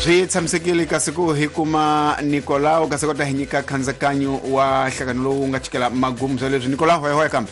Swi tshamisekile kasi ku hi kuma Nicolau kasi kota hi nyika khandzikanyo wa nhlangano lowu nga chikela magumu swa leswi. Nicolau, hoya hoya kambe.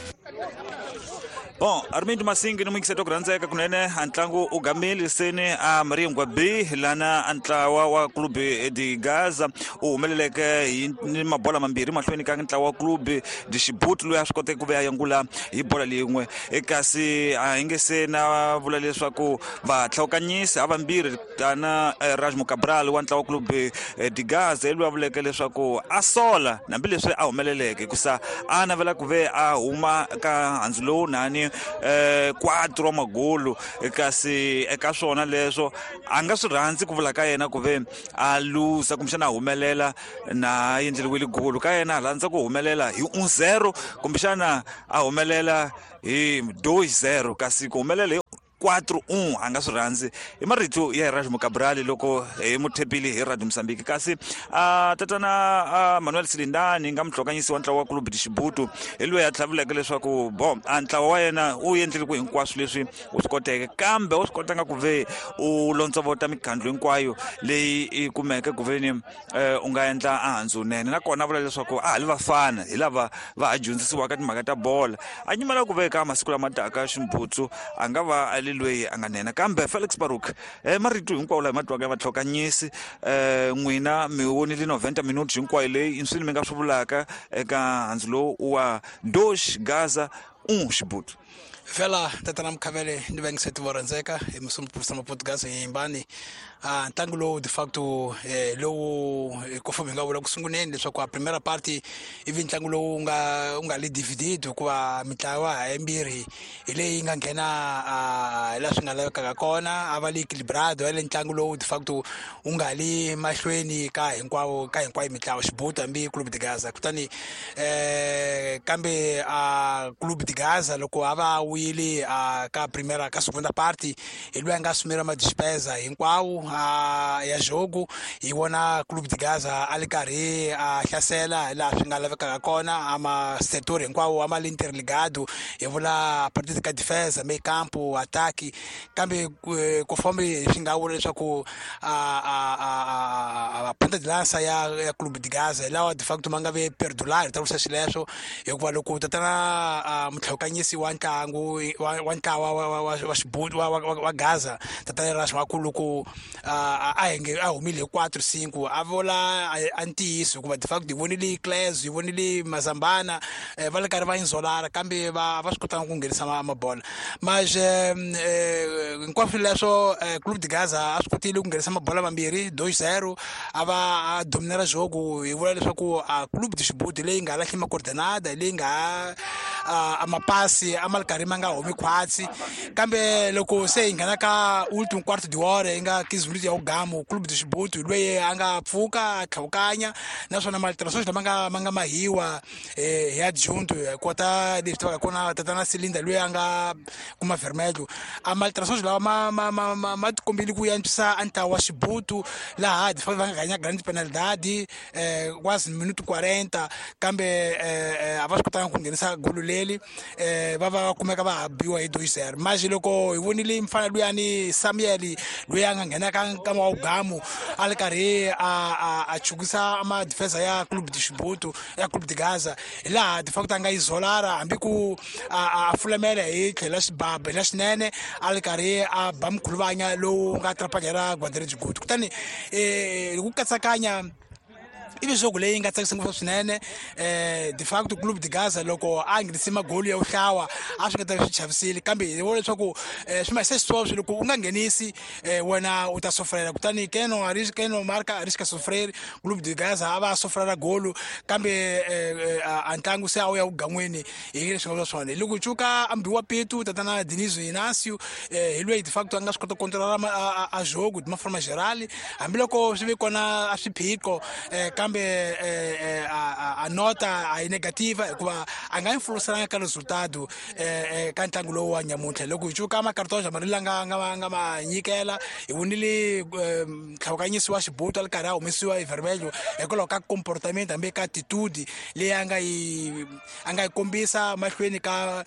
Bon, Armindo Masingi ni muyingiseti ku rhandzeka kunene, a ntlangu u gamile seni a Maringwa B, lana a ntlawa wa Club de Gaza u humeleleke hi ni mabola mambirhi mahlweni ka ntlawa wa Club de Xibuti, loyi a swi koteke ku ve a yangula hi bola leyin'we. Kasi a hi nge se na vula leswaku vahlawukanyisi a vambirhi tana Rajmo Cabral wa ntlawa wa Club de Gaza hi loyi a vuleke leswaku a sola hambileswi a humeleleke, hikusa a navela ku ve a huma ka handzu lowu nani 4 wa magulu. Kasi eka swona leswo a nga swi rhandzi ku vula ka yena ku ve a luza kumbexana a humelela na endleriwile gulu ka yena, a rhandza ku humelela hi 1-0 kumbexana a humelela hi 2-0, kasi ku humelela hi 4-1 a nga swi rhandzi. I marito ya Erasmo Cabral loko hi muthepile hi Radio Mozambique. Kasi a tatana Manuel Silindani nga muhlokanyisi wa ntlawa wa Club de Xibutu hi loyi a tlhavuleke leswaku bo a ntlawa wa yena u endlile ku hinkwaswo leswi u swi koteke, kambe u swi kotanga ku ve u lontsovota mikhandlu hinkwayo leyi i kumeke ku veni u nga endla a handzu nene. Nakona a vula leswaku a ha li vafana hi lava va ha dyondzisiwaka timhaka ta bola, a nyimela ku veka masiku lama taka Ximbutsu a nga va a li loyi a nga nene. Kambe Felix Baruk, marito hinkwawo laha ma twaka ya vatlhokanyisi, n'wina mi vonile 90 minutes hinkwayo leyi, i swini mi nga swi vulaka eka handzu lowu wa Dosh Gaza 1 Xibutu? Fela tatana Mukhavele ni vayingiseti vo rhandzeka hi musumupurisa Maportugazi yimbani a ntlangu lowu de facto lowu conforme hi nga vula ku sunguleni leswaku a primera party ivi ntlangu lowu nga li dividido, hikuva mitlawa yimbirhi hi leyi nga nghena hi laha swi nga lavekaka kona, a va li equilibrado ya le ntlangu lowu de facto wu nga li mahlweni ka hinkwavo ka hinkwayo mitlawa Xibutu hambi Club de Gaza. Kutani kambe a Club de Gaza loko a va wile a ka primera ka segunda party hi loyi a nga sumela ma despesa hinkwawo ya jogo, hi vona Club de Gaza a li karhi a hlasela hi laha swi nga lavekaka kona, a ma sector hinkwawo a ma li interligado, hi vula partida ka defensa, meio campo, ataque. Kambe ku fambe swi nga vula leswaku a ponta de lança ya Club de Gaza hi lawa de facto ma nga ve perdular, ta vurisa xileswo, hikuva loko tatana mutlhokanyisi wa ntlangu wa ntlawa wa Xibutu wa Gaza tatana Rash wa loko a henge a humile hi 4-5 a vula a ntiyiso, hikuva de facto hi vonile Cles, hi vonile Mazambana va le karhi va inzolara, kambe va swi kotanga ku nghenisa mabola. Mas hinkwaswo leswo Club de Gaza a swi kotile ku nghenisa mabola mambirhi 2-0, a va a dominera jogo. Hi vula leswaku a Club de Xibuti leyi nga lahli macoordenada, leyi nga a mapasi a ma ri karhi ma nga humi khwatsi, kambe loko se hi nghena ka ultimo quarto de hora yi nga 15 minutos ya ugamu, Club de Xibuti loyi a nga pfuka a tlhawukanya, naswona malterações lama nga ma nga mahiwa hi adjunto hi kota leswi tivaka kona tatana Silinda loyi a nga kuma vermelho, a malterações lawa ma tikombile ku antswisa a ntlawa wa Xibutu, laha de va nga ganya grande penalidade quase minuto 40, kambe a va swi kotanga ku nghenisa golo leri, va va kumeka va ha biwa hi 2-0. Mas loko hi vonile mfana luyani Samuel loyi a nga nghena ka nkama wa ugamu a ri karhi a chukisa ma defensa ya Club de Xibutu ya Club de Gaza, hi laha de facto a nga izolara hambi ku a fulamela hi tlhelo xibaba la xinene, a ri karhi a ba mkhuluvanya lowu nga trapanyela guarda-redes good. Kutani ku katsakanya i leswaku leyi nga tsakisa ngopfu swinene, de facto Club de Gaza loko a nghenise magoli ya vuhlawa a swi nga ta swi chavisile, kambe hi vona leswaku swi ma se sweswo loko u nga nghenisi wena u ta sofrela. Kutani keno keno marca arrisca sofrer, Club de Gaza a va sofrela golo, kambe a ntlangu se a wu ya vugan'wini hi leswi nga swona. Loko cuka ambiwa pitu tatana Dinizo Inacio hi loyi de facto a nga swi kota ku controla a jogo de uma forma geral, hambiloko swi ve kona a swiphiqo, kambe a nota a yi negativa hikuva a nga influencelanga ka resultado ka ntlangu lowu wa nyamuntlha. Loko hi cuka makartoja mali la nga ma nyikela, hi vonile ntlhawukanyisi wa Xibutu a ri karhi a humesiwa hi vermelho hikwalaho ka comportament hambi ka attitude leyi a nga yi kombisa mahlweni ka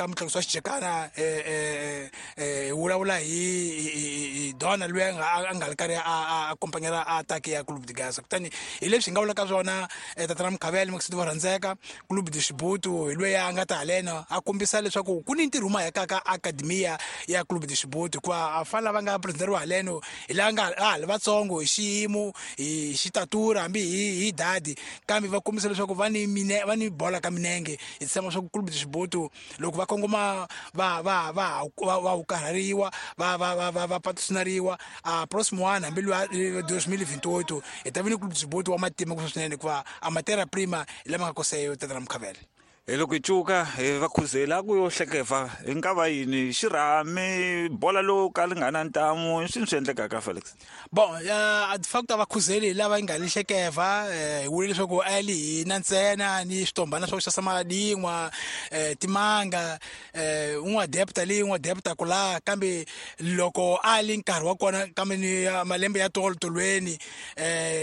mutlakusi wa xijekana, hi vulavula hi Dona loyi a nga ri karhi a akompanyela a ataki ya Clube de Gaza. Kutani hi leswi hi nga vulaka swona, tatana Mukhavele Makisiti va rhandzeka, Clube de Xibutu hi loyi a nga ta haleno a kombisa leswaku ku ni ntirho mahekaka akademiya ya Clube de Xibutu, hikuva a fana lava nga presideriwa haleno hi lava nga a ha li vatsongo hi xiyimo, hi xitatura, hambi hi dadi, kambe va kombisa leswaku va ni mine va ni bola ka minenge. Hi tshemba swa ku Clube de Xibutu loko va kongoma va va va va va ukarhariwa, va va va va va patrocinariwa a próximo ano, hambi luya 2028, hi ta vi ni Clube de Xibutu wa matima ku swinene, hikuva a matera prima hi lama nga koseyo, tatana Mukhavele. Hi loko hi cuka hi va khuzela ku yo hlekeva hi nga va yini xirhami bola lowu ka li nga na ntamu i swini swi endlekaka, Felix? Bon, de facto a va khuzeli hi lava yi nga li hlekeva. Hi vule leswaku a li hina ntsena ni switombana swa ku xavisa madin'wa, timanga, un'we adepta leyi un'we adepta ku laha, kambe loko a li nkarhi wa kona kambe ni malembe ya tolo tolweni,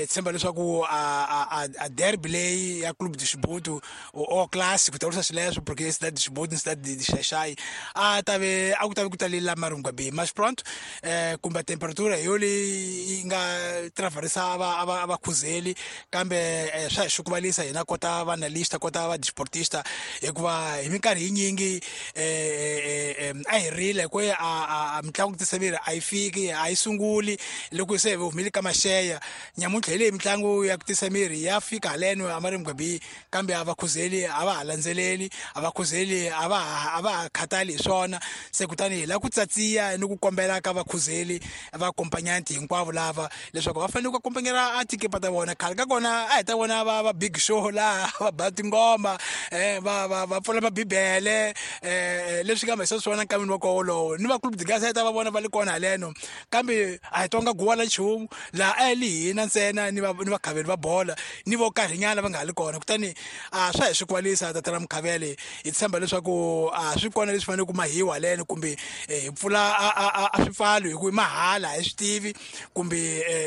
tshemba leswaku a derby leyi ya Clube de Xibutu o classico ku tavurisa xileswo, porque Cidade de Xibutu ni Cidade de Xaixai a ta ve a ku ta ve ku talela Marungwa B, mas pronto, kumbe temperatura hi yo leyi yi nga travarisa a va khuzeli, kambe swa hi xukuvalisa hina kota va analysta, kota va disportista, hikuva hi minkarhi yinyingi a hi rile ku a mitlangu tisa miri a yi fiki, a yi sunguli loko se hi humile ka maxeya. Nyamuntlha hi leyi mitlangu ya ku tisa miri ya fika haleno a Marungwa B, kambe a va khuzeli, a va ha landzeleli, a va khuzeli, a va ha khathali hi swona. Se kutani hi lava ku tsatsiya ni ku kombela ka vakhuzeli va kompanyanti hinkwavo lava leswaku va fanele ku akompanyela a tikipa ta vona. Khale ka kona a hi ta vona va big show laha va ba tingoma, va pfula mabibele, leswi nga mahisa swona nkamini wa koho wolowo, ni va Clube de Gaza ta va vona va li kona haleno, kambe a hi twanga guwa la nchumu laha, a hi li hina ntsena ni vakhaveli va bola ni vo karhinyana va nga ha li kona. Kutani a swa hi swi kwalisa, tatana Mukhavele. Hi tshemba leswaku a swi kona leswi fanele ku mahiwa haleno, kumbe hi pfula a swipfalo hi ku i mahala, hi swi tivi, kumbe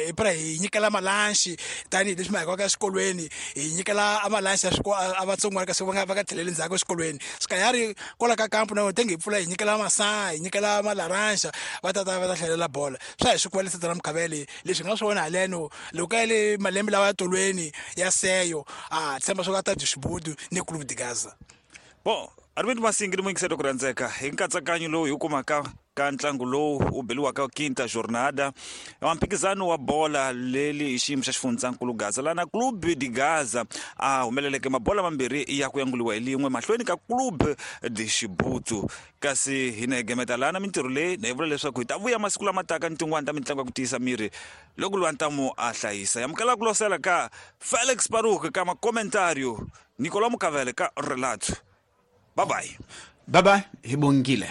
hi pra hi nyikela malanxi tanihileswi ma hikwaka exikolweni, hi nyikela a malanxi ya a vatsongwana kasi va nga tlheleli ndzhaku exikolweni sikayari kwala ka kampu na tenge hi pfula hi nyikela masaha, hi nyikela malaranja, va ta va ta hlalela bola. Swa hi swi kwalisa, tata Mukhavele, leswi nga swona haleno loko ka le malembe lawa ya tolweni ya seyo, a tshemba swo ka ta byi Xibudu ni Clube de Gaza. Bon, Arvind Masingi ni muyingiseri ku rhandzeka, hi nkatsakanyo lowu hi wu kumaka ka ntlangu lowu wu beliwaka quinta jornada wa mphikizano wa bola leli hi xiyimo xa xifundzankulu Gaza, lana Clube de Gaza a humeleleke mabola mambirhi ya ku yanguliwa hi lin'we mahlweni ka Clube de Xibutu. Kasi hina hi gemeta lana mintirho leyi na hi vula leswaku hi ta vuya masiku lama taka ni tin'wani ta mitlangu ya ku tiyisa miri loko lwa ntamu a hlayisa. Yamukela ku losela ka Felix Paruk ka makomentario, Nicolas Mukavele ka relato. Bye bye. Bye bye, hi bongile.